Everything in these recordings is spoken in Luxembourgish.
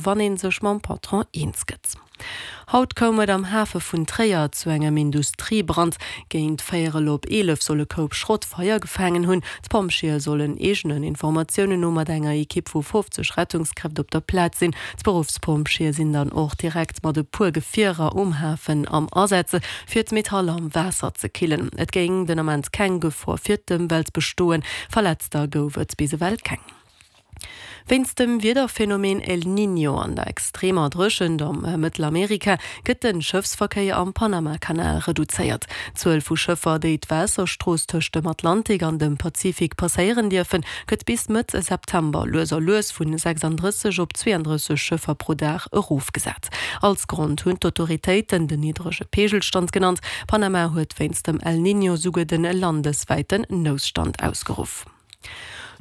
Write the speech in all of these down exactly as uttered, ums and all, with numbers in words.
wann ee sech mam Patron eens gëtt. Haut koum et am Hafe vun Tréier zu engem Industriebrand. Géint véierel op eelef soll e Koup Schrott Feier gefaangen hunn. D'Pompjeeë sollen eegenen Informatiounen no mat enger Ekipp vu fofzeg Rettungskräft op der Plaz sinn. D'Beruffspompjeeë sinn dann och direkt mat e puer Gefierer um Hafen am Asaz, fir d'Metall am Waasser ze killen. Et géing den Ament keng Gefor fir d'Ëmwelt bestoen. Verletzter gouf et bis ewell keng. Wéinst dem Wiederphenomen El Niño an der extremer Dréchent am Mëttelamerika gëtt de Schëffsverkéier am Panamakanal reduzéiert. D'Zuel vu Schëffer, déi d'Waasserstrooss tëscht dem Atlantik an dem Pazifik passéieren dierfen, gëtt bis Mëtt September lues a lues vun sechsanddrësseg op zweeandrësseg Schëffer pro Dag erofgesat. Als Grond hunn d'Autoritéiten den niddrege Peegelstand genannt. Panama huet wéinst dem El Niño souguer de landeswäiten Noutstand ausgeruff.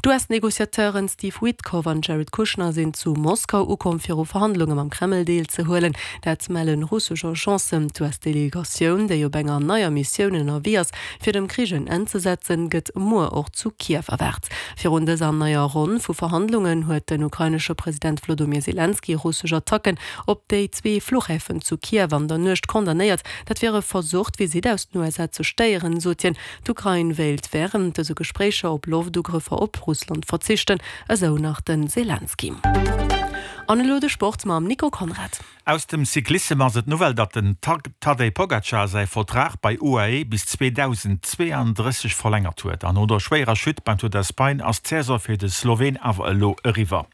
D'US-Negociateuren Steve Witkoff an Jared Kushner sinn zu Moskau ukomm, fir u Verhandlunge mam Kreml deelzehuelen. Dat mellen russesch Agencen. D'US-Delegatioun, déi op enger neier Missioun ënnerwee ass, fir dem Krich en Enn ze setzen, gëtt muer och zu Kiew erwaart. Virun dëser neier Ronn vu Verhandlungen huet den ukrainesche President Wlodomir Selenskyj russesch Attacken op déi zwee Fluchhäfen zu Kiew an der Nuecht condamnéiert. Dat wier e Versuch, d'Visitt aus den U S A ze stéieren, sot hien. D'Ukrain wéilt wärend dëse Gespréicher op Loftugrëffer op Russland verzichten, esou nach de Selenskyj. An elo de Sport mam Nico Conrad. Aus dem Cyclissem ass et d'Nouvelle, datt den Tadej Pogacar säi Vertrag bei U A E bis zweedausendzweeandrësseg verlängert huet. An no der schwéierer Chute beim Tour d'Espagne ass d'Saison fir de Sloween awer elo eriwwer.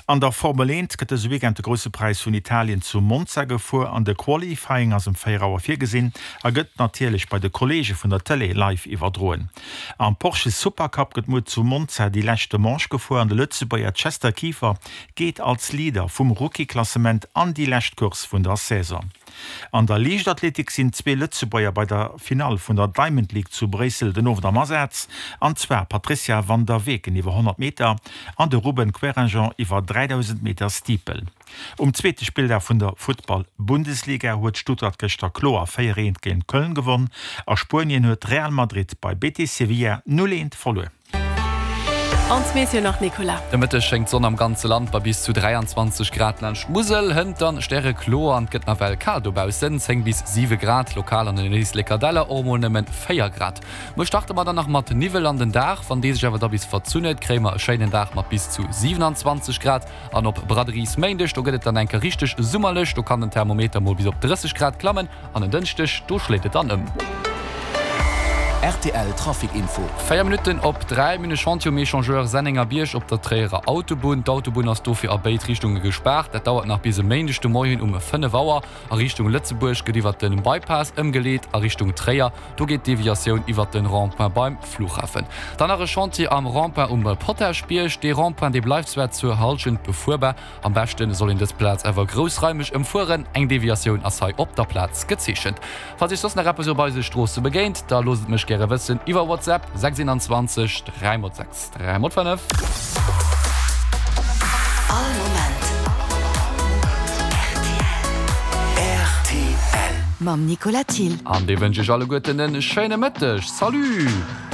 An der Formel eent gëtt dëse Weekend de Grousse Präis vun Italien zu Monza gefuer an de Qualifying ass um véier Auer virgesinn a gëtt natierlech bei de Kolleege vun der Tëlee live iwwerdroen. Am Porsche Supercup gëtt muer zu Monza déi leschte Manche gefuer an de Lëtzebuerger Chester Kieffer geet als Leader vum Rookie-Klassement an déi lescht Course vun der Saison. An der Liichtathletik sinn zwee Lëtzebuerger bei der Finall vun der Diamond League zu Bréissel den Owend am Asaz, an zwar d'Patrizia van der Weken iwwer honnert Meter an de Ruben Querinjean iwwer dräidausend Meter Steeple. Um zweete Spilldag vun der Futtball-Bundesliga huet Stuttgart gëschter kloer véier eent géint Köln gewonn. A Spuenien huet Real Madrid bei Betis Sevilla null eent verluer. An d'Meteo nach, Nicolas. De Mëtteg schéngt d'Sonn am ganze Land bei bis zu dräianzwanzeg Grad laanscht d'Musel. Hënt dann stärekloer an et gëtt nawell kal dobaussen, zéng bis siwe Grad, lokal an den Éisleker Däller och emol nëmmen véier Grad. Muer starte mer dann nach mat Niwwel an den Dag, wann dee sech awer da bis verzunn huet, kréie mer e schéinen Dag mat bis zu siewenanzwanzeg Grad. An op Braderies-Méindeg, do gëtt et dann eng Kéier richteg summerlech, do kann den Thermometer mol bis op drësseg Grad klammen. An en Dënschdeg, do schléit et dann ëm. R T L Trafic Info. Véier Minutten op dräi, Mir hunn e Chantier um Echangeur Sennengerbierg op der Tréierer Autobunn. D'Autobunn ass dofir a béid Richtunge gespaart. Dat dauert nach bis e Méindeg de Moien um fënnef Auer. A Richtung Lëtzebuerg gëtt iwwert de Bypass ëmgeleet, a Richtung Tréier, do geet d'Deviatioun iwwert de Rond-point beim Flughafen. Dann nach e Chantier am Rond-point um Potaschbierg. Dee Rond-point, dee bleift zwar zur Hallschent befuerbar, am beschte soll een dës Plaz awer groussraimeg ëmfueren. Eng Deviatioun ass hei op der Plaz gezeechent. Falls Iech soss nach eppes op eise Stroosse begéint, da loosst et mech gäre wëssen iwwer WhatsApp, sechs eenanzwanzeg dräi mol sechs dräi mol fënnef. All Moment R T L. Mam Nicolas Thill. An dee wënsch iech alleguerten en schéine Mëtteg. Salut!